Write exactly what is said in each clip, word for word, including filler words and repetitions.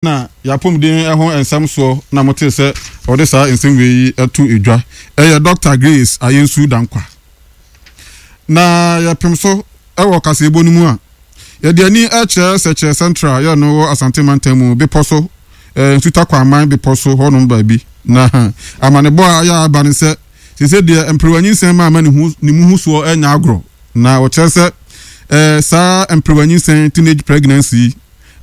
Na y'apɔmuden ho nsɛm soɔ na motee sɛ ɔde saa nsɛm wei yi to dwa. Ɛyɛ Dɔkta Grace Ayensu Dankwa. Na yɛpem so wɔ kaseɛbɔ no mu a, yɛde ani kyerɛ Sɛkyerɛ Central yɛ no wɔ Asante Mantam mu bepɔ so, Nsuta Kwaman bepɔ so hɔnom baabi. Na amanebɔ a ayɛ aba ne sɛ, seesei deɛ mperewa nyinsɛn ma ama ne ho ne mu ho soɔ nyɛ agorɔ. Na wɔkyerɛ sɛ eh, saa mperewa nyinsɛn, teenage pregnancy yi,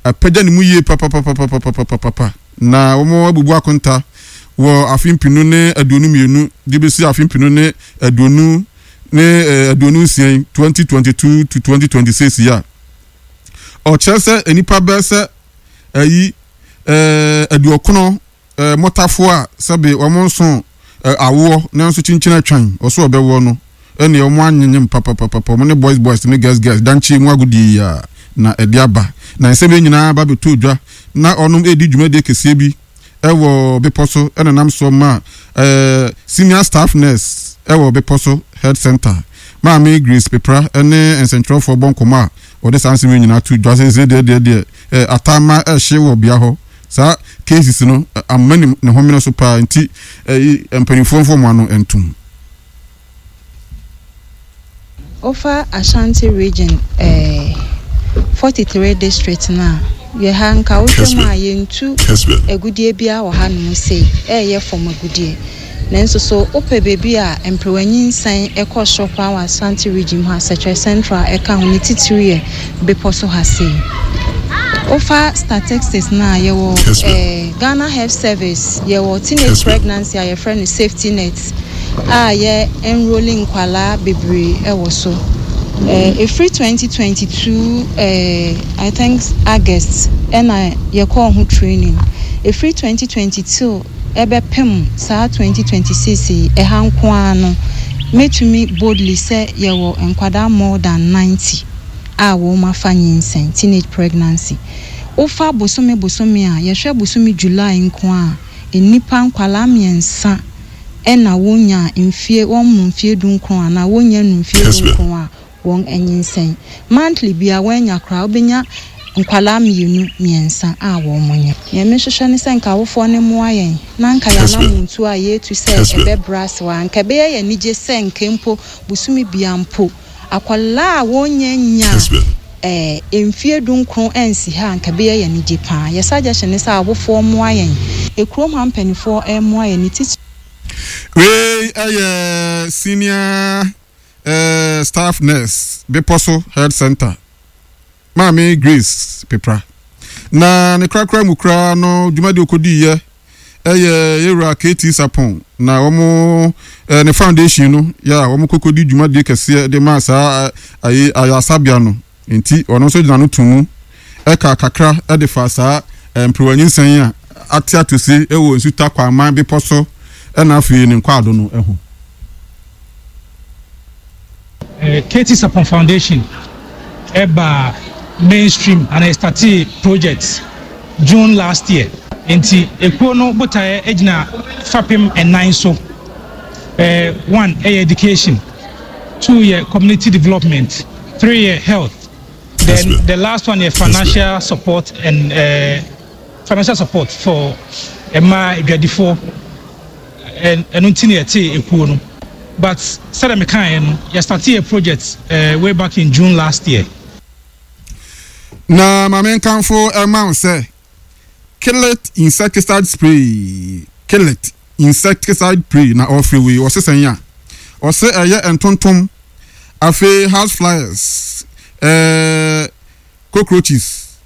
apagya ne mu yie papapapapapapapa na wɔabubu akonta wɔ afe mpenu ne aduonu mmienu de bɛsi afe mpenu ne aduonu ne eh, aduonu nsia yi, twenty twenty two to twenty twenty six yi a, ɔkyerɛ sɛ nnipa bɛyɛ sɛ ayi eh, aduɔkono eh, mmɔtafoɔ a sɛbe wɔn nso eh, awoɔ nanso kyinkyin atwan ɔso ɔbɛwoɔ no ɛneɛ wɔn anyenyem papapapapa, wɔn ne boys boys ne girls girls dankye mu agodie yi a na ɛde aba. Na nsɛm yi nyinaa ba bɛtɔ dwa na ɔnom redi dwumadie kɛseɛ bi wɔ bepɔ so ɛna nam soɔ ma eh, senior staff nurse ɛwɔ bepɔ so health center Maame Grace Pepra ne nsɛntwerɛfoɔ bɔ nkɔmmɔ a wɔde saa nsɛm yi nyinaa to dwa sɛ sɛ deɛ deɛ deɛ eh, ataama ɛhye wɔ bea hɔ saa cases no amma ne ne homene so paa nti eh, mpanimfoɔ mfa wɔn ano ntom. Wofa Ashanti region eh, forty three district no a, yɛ ha nka wohwɛ mu a yɛntu agudeɛ biara wɔ hanom sei, ɛyɛ fam agudeɛ. Nanso so wopɛ baabi a mperewa nyinsɛn kɔ soro paa wɔ Ashanti region mu ha, Sekyere Central ɛka ho, ne titiriw yɛ bepɔ so ha sei. Wofa statistics no a, yɛwɔ eh, Ghana Health Service, yɛwɔ teenage pregnancy a yɛfrɛ no safety net a yɛ enrolling nkwalaa bebree ɛwɔ so. Eh, ɛfiri twenty twenty two eh, I think August ɛna yɛkɔɔ ho training. Ɛfiri twenty twenty two ɛbɛpem saa twenty twenty six yi, ɛha nko ara no, mɛtumi boldly sɛ yɛwɔ nkwadaa more than ninety a wɔn afa nyinsɛn, teenage pregnancy. Wofa bosome bosome a, yɛhwɛ bosome July nko a, nnipa nkwalaa mmiɛnsa ɛna wonya mfie, wɔn mu mfie du nkron anaa wonya nu mfie du nkron a wɔn anyinsɛn. Monthly bia wɔanya koraa, wobɛnya nkwalaa mmienu mmiɛnsa a wɔn mo nya. Nea mehwehwɛ ne sɛ nka awofoɔ ne mmoa yɛn na nka yɛanamontuo a yɛtu sɛ ɛbɛbrɛ ase hɔ a, nka ɛbɛyɛ yɛn anigye sɛ nka mpo bosome bia mpo akwadaa a wɔnya nya eh, mfie du nkron ansi ha a, nka ɛbɛyɛ yɛn anigye paa. Yɛ suggestion ne sɛ awofoɔ mmoa yɛn, ekurom ha mpanimfoɔ mmoa yɛn ne titiri. Wei ɛyɛ senior eh, staff nurse bepɔ so health center Maame Grace Pepra. Na ne korakora mu koraa no dwumadi okodiiɛ ɛyɛ yɛwura K T Sapon na wɔn eh, ne foundation no yɛ a wɔn kɔkɔdi dwumadie kɛseɛ de maa saa ayi ayasabea no, nti ɔno nso gyina no to mu ɛka kakra ɛde fa saa eh, mperewa nyinsɛn a ate atose ɛwɔ Nsuta Kwaman bepɔ so ɛna afei ne nkwaado no ɛho. K T Sapon Foundation ɛba mainstream and I started project June last year. Nti ekuo no botaeɛ gyina fapem ɛnan so. Eh, one ɛyɛ education, two yɛ community development, three yɛ health, then the last one yɛ financial support and uh, financial support for mmaa adwadifoɔ. Ɛno nti na yɛte ekuo no, but sɛdeɛ mekaeɛ no, yɛstarte yɛ project uh, way back in June last year. Na maame nkanfo ɛma wo sɛ Killet insecticide spray, Killet insecticide spray na ɔfiri wei ɔse sɛn a ɔse ɛyɛ ntontom, afei house flies, ɛɛ cockroaches,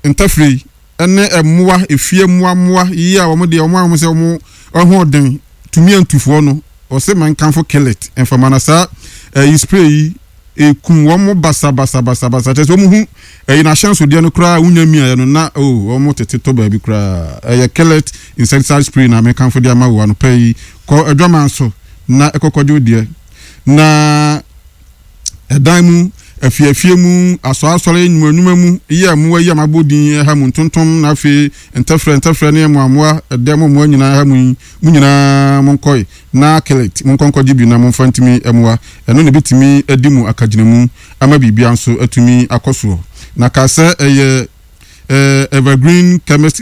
ntafiri ɛne mmoa efie mmoa mmoa yi a wɔn deɛ wɔn a wɔn sɛ wɔn ɛho tumi antufoɔ no. Ɔse ma nkanfo Killet mfama na saa ɛyi spray yi ekum wɔn basabasabasabasa, kyerɛ sɛ wɔn ho ɛyi n'ahyɛnsodeɛ no koraa wonya miaeɛ no na o wɔn tete tɔ baabi koraa. Ɛyɛ Killet insecticide spray na mekanfo de ama wo anɔpɛ yi. Kɔ adwaman so na ɛkɔkɔgye deɛ na ɛdan mu, afiafie mu, asɔasɔre, nnwuma mu yɛ mmoa yi a mabɔ din ɛha mu ntontom na afei ntɛfrɛ ntɛfrɛ ne mmoamoa ɛdɛ mo mmoa nyinaa ha mu yi mu nyinaa, monkɔe na Killet monkɔnkɔgye bi na momfa ntumi mmoa. Ɛno na ebɛtumi adi mu akagyinamu ama biribia nso atumi akɔ soɔ. Na ka sɛ ɛyɛ Evergreen Chemist.